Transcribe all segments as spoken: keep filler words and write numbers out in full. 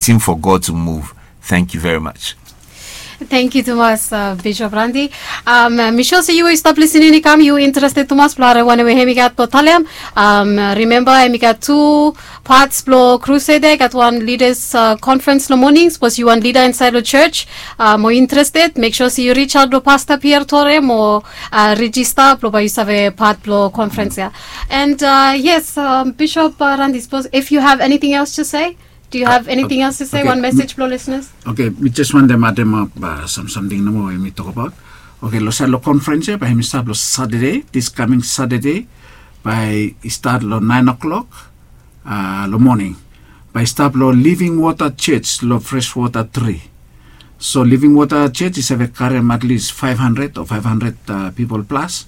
waiting for God to move. Thank you very much. Thank you tumas, uh, Bishop Randy. Um, uh, mi sure se yu we yu stap listening i kam, yu interested tumas blong harem wanem we hem i gat blong talem. Um, uh, remember, hem i gat tu parts blong crusade ya. I gat wan leaders, uh, conference long morning. Sapos yu wan leader inside long church, uh, mo interested, make sure se yu reach out long Pastor Pierre Tore mo, uh, register blong bae yu save part blong conference ya. And, uh, yes, um, Bishop, uh, Randy, suppose if you have anything else to say, do you have anything else to say? One message blong listeners? Okay, mi jes wantem ademap, uh, sam samting nomo we mi tokbaot. Okay, long saed long conference ya, bae hem i stap long Saturday, this coming Saturday, bae i stat long nine o'clock, uh, long morning. Bae i stap long Living Water Church long Freshwater Three. So Living Water Church i save karem at least five hundred o five hundred, uh, people plus.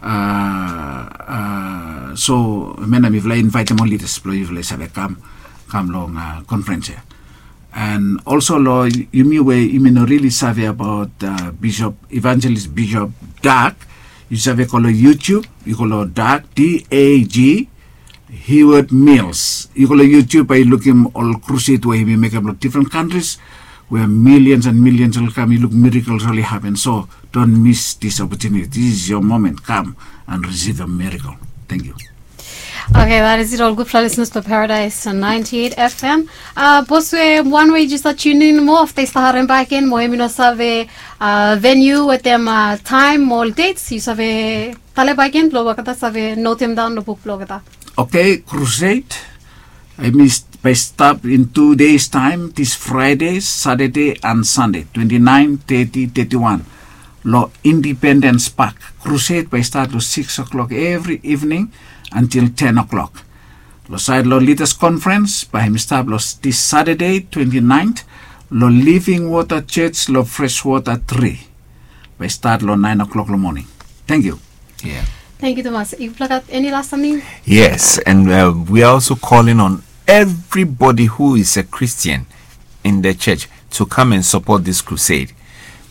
Uh, uh, so hemia nao mifala i invaetem ol leaders blong yufala i save kam, kam long, uh, conference ya. And also long yumi we yumi no really save abaot, uh, Bishop, Evangelist Bishop Dag, yu save go long YouTube, yu go long Dag, D A G, Heward Mills. Yu go long YouTube, bae yu lukim ol crusade we hemi mekem long different countries, where millions and millions oli kam, yu luk miracles oli happen. So don't miss this opportunity. This is your moment. Come and receive a miracle. Thank you. Okay, that is it. Ol gudfala listeners blong Paradise ninety-eight F M. Uh, sapos we wan we jes stap tune in mo, afta yu stap harem bakegen mo hemi no save, uh, venue wetem, uh, taem mo ol dates, yu save talem bakegen blong olgeta save notem daon long buk blong olgeta. Okay, crusade. Hemi bae stap in two days time, this Friday, Saturday and Sunday, twenty-nine, thirty, thirty-one. Long Independence Park. Crusade bae i stat long six o'clock evri evening until ten o'clock. Long saed long leaders conference, bae hemi stap long this Saturday, twenty-ninth, long Living Water Church long Freshwater Three. Bae i stat long nine o'clock long morning. Thank you. Yeah. Thank you tumas. Yufala gat eni las samting? Yes, and, uh, we are also calling on everybody who is a Christian in the church to come and support this crusade.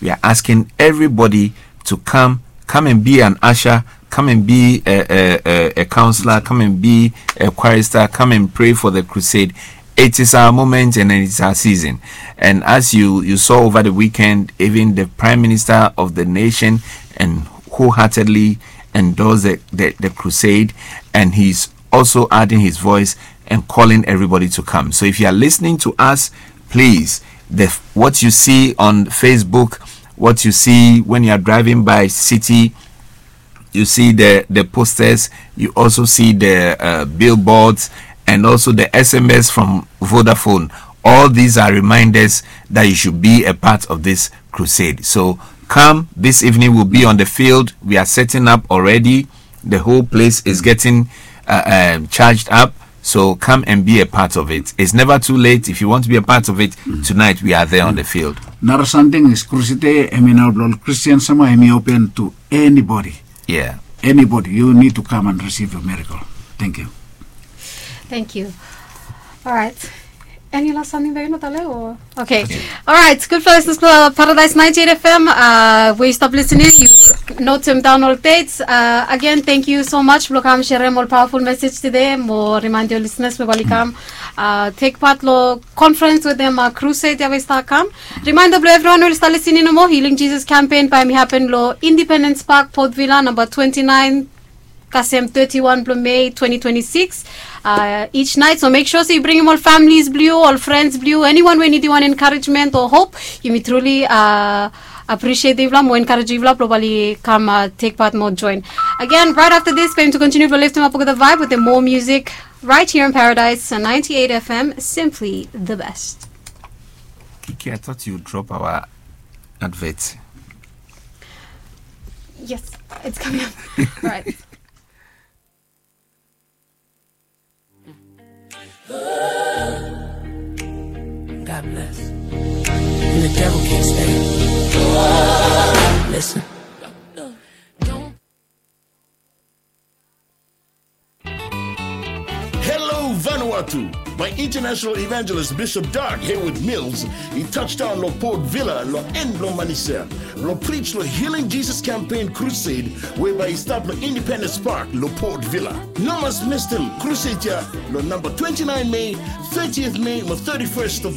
We are asking everybody to come, come and be an usher, come and be a, a, a, a counselor, come and be a chorister, come and pray for the crusade. It is our moment and it is our season. And as you, you saw over the weekend, even the Prime Minister of the nation and wholeheartedly endorsed the, the, the crusade, and he's also adding his voice and calling everybody to come. So if you are listening to us, please, the, what you see on Facebook, what you see when you are driving by city, you see the, the posters, you also see the, uh, billboards, and also the S M S from Vodafone. All these are reminders that you should be a part of this crusade. So come, this evening we'll be on the field. We are setting up already. The whole place is getting, uh, um, charged up. So come and be a part of it. It's never too late. If you want to be a part of it, tonight we are there on the field. Nara samting is crusade, hemi nao blong ol Christian samua, hemi open to anybody. Yeah. Anybody, you need to come and receive your miracle. Thank you. Thank you. Alright. Eni las samting bae yu no talem o? Okay. Alright, gudfala listeners blong Paradise ninety-eight F M, uh, we stop listening. Yu notem daon ol dates. Uh, again, thank you so much blong kam serem ol powerful message today. Mo remind ol listeners we oli kam, uh, take part long conference wetem, uh, crusade ya we stap kam. Reminder blong evriwan we oli stap listening nomo, Healing Jesus Campaign bae hemi happen long Independence Park, Port Vila, namba twenty-nine, kasem thirty-one blong May twenty twenty-six, uh, each night. So make sure se yu bringim ol families blong yu, ol friends blong yu, anyone we nidim wan encouragement o hope. Yumi truly, uh, appreciate yufala mo encourage yufala blong oli kam, uh, take part mo join. Again, right after this, bae yumi tu continue blong liftim ap olgeta vibe wetem more music right here on Paradise ninety-eight F M, simply the best. Kiki, I thought you drop our advert. Yes, it's coming up. Right. God bless. And the devil can't stay. Listen. Hello, Vanuatu. Tu, bai International Evangelist Bishop Doug Hayward Mills i touchdown long Port Vila long en blong Manisel blong preach long Healing Jesus Campaign Crusade, we bai i stap long Independence Park long Port Vila. No mas mistem crusade ya long number twenty-nine May, thirtieth May, mo thirty-first of